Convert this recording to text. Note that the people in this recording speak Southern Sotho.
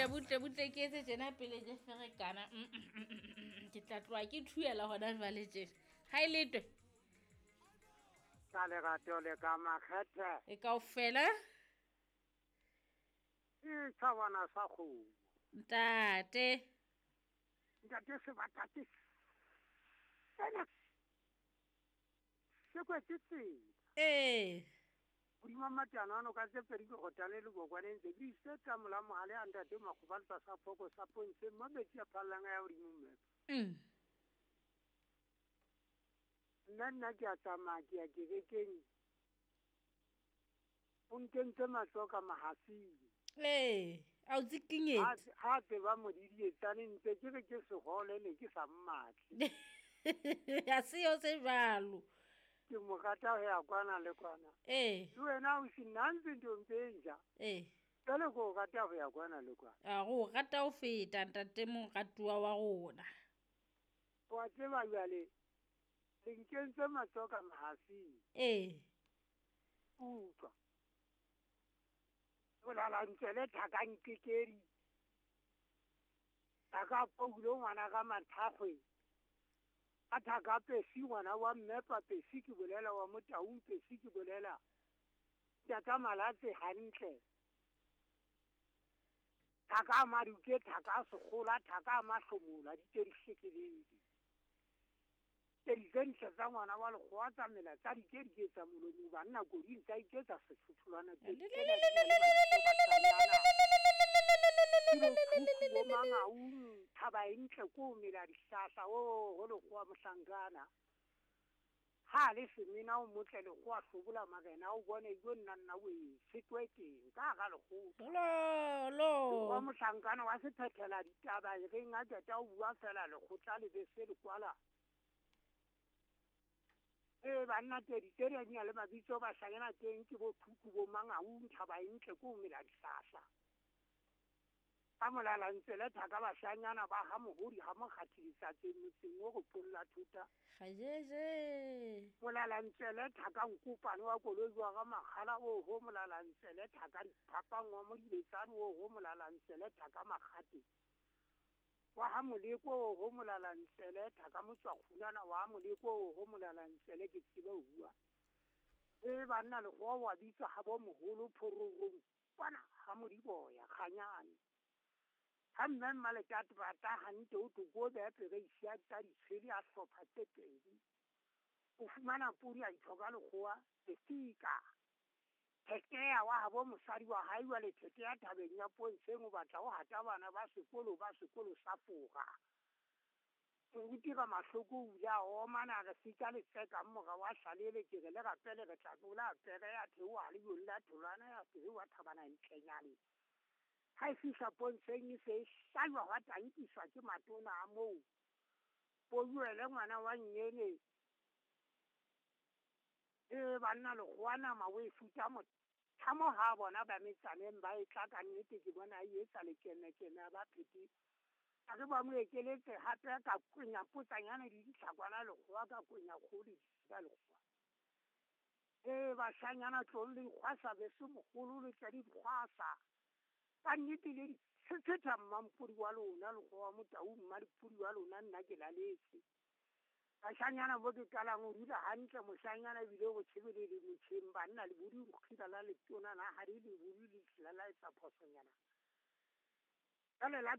Butle butle butle ke etse tjena pele ke ferekana. Ke tla tloha ke thuela hona jwale tjena. Ha e letwe. Ka lerato le ka makgethe. E kaofela. Ke thabana sa kgomo. Ntate. Ntate sebata ke sena. Se kwetse tsela. Ee. Hodima matjana ano ka tse pedi ke kgotane le bokwane ntse ke ise tsa mola mohale a ntate makgoba le sa phoko sa pontshe mo metsi a phallang a ya hodimo mme. Nna ke a tsamaya ke ya kerekeng. O nkentse matsoho ka mahafing. Ee, a o tsikinyetse. Ha tseba modidietsane ntse ke re ke sehole ne ke sa mmatle. Ha se yo se jwalo. Ke mo rata ho ya kwana le kwana. Ee. Le wena o se nna ntse nthong tse nja. Ee. Jwale ke o rata ho ya kwana le kwana. A go rata ho feta ntate moratuwa wa rona. Wa tseba jwale le nkentse matsoho ka mahafing. Ee. Utlwa. Bolala ntsele thaka nkekedi. Thaka Paulo ngwana ka Mathakgwe. A thaka Pesi ngwana wa Mmepa Pesi ke bolela wa Motaung Pesi ke bolela. Tata Malatse hantle. Thaka Maduke thaka Sekgola thaka Mahlomola di tedi hlekeledi. Tedi tse ntle tsa ngwana wa lekgowa tsa mela tsa dikedike tsa molomo banna koding tsa iketsa sefutholwana tse bo mangaung thaba e ntle ko mela dihlahla o ho lekgowa mohlankana. Ha le semena o motle lekgowa hlobola marena o bone yo nna nna o e fetwe teng ka ga lekgotla. Lo. Wa mohlankana wa se phethela ditaba e reng a qeta o bua fela lekgotla le be se le kwala. Banna tedi tse di le mabitso ba hlanyana teng ke bo Thuku bo Mangaung thaba e ntle ko mela dihlahla. Ka molala ntse le thaka bahlanyana ba ha mohodi ha mokgathi tse motseng o go polla thuta. Gajeje. Molala ntse le thaka nkopane wa koloi wa ga makgala o ho molala ntse le thaka diphapang wa modibetsane o ho molala ntse le thaka makgate. Wa ha moleko o ho molala ntse le thaka motswakgulana wa moleko o ho molala ntse le ke tsebe ho bua. Banna le go wa bitsa ha bo moholo phororong kwana ha modiboya kganyane. Ha mme mmalekate rata hantle o toko be pere isia tsa ditshwele a hlopha tse pedi. O fumana podi a ithoka lekgowa lefika. Thekeya wa habo mosadi wa hae wa le thekeya thabeng ya Pontsheng o batla ho hata bana ba sekolo sa fora. Moruti ka mahloko o ile a omana re fika le tseka mora wa hlalele ke re le rapele re tla tlola pere ya theoha le yolla tholwana ya theoha thabana ntlenyane. Ha e fihla Pontsheng e se e hlajwa hwa tankiswa ke matona a moo. Pojuele ngwana wa nnyene. Banna lekgowa nama o e futa mothamo ha bona ba metsaneng ba e tla ka nnete ke bona e etsa lekemekeme ba phete. A re ba mo ekeletse hape ka kwenya potsanyane le ditlhakwana lekgowa ka kwenya kgolo ka lekgowa. Bashanyana tlong le dikgwasa beso mogolo le tla dikgwasa. Ka nnete le tshethetha mmampodi wa lona lekgowa Motaung mmadipodi wa lona nna ke laletse. Bashanyana bo ke qalang ho dula hantle moshanyana ebile go tshebelele motjheng banna le bodi kgila la letona na ha di le bodi le tla la etsa phosonyana. Ka le la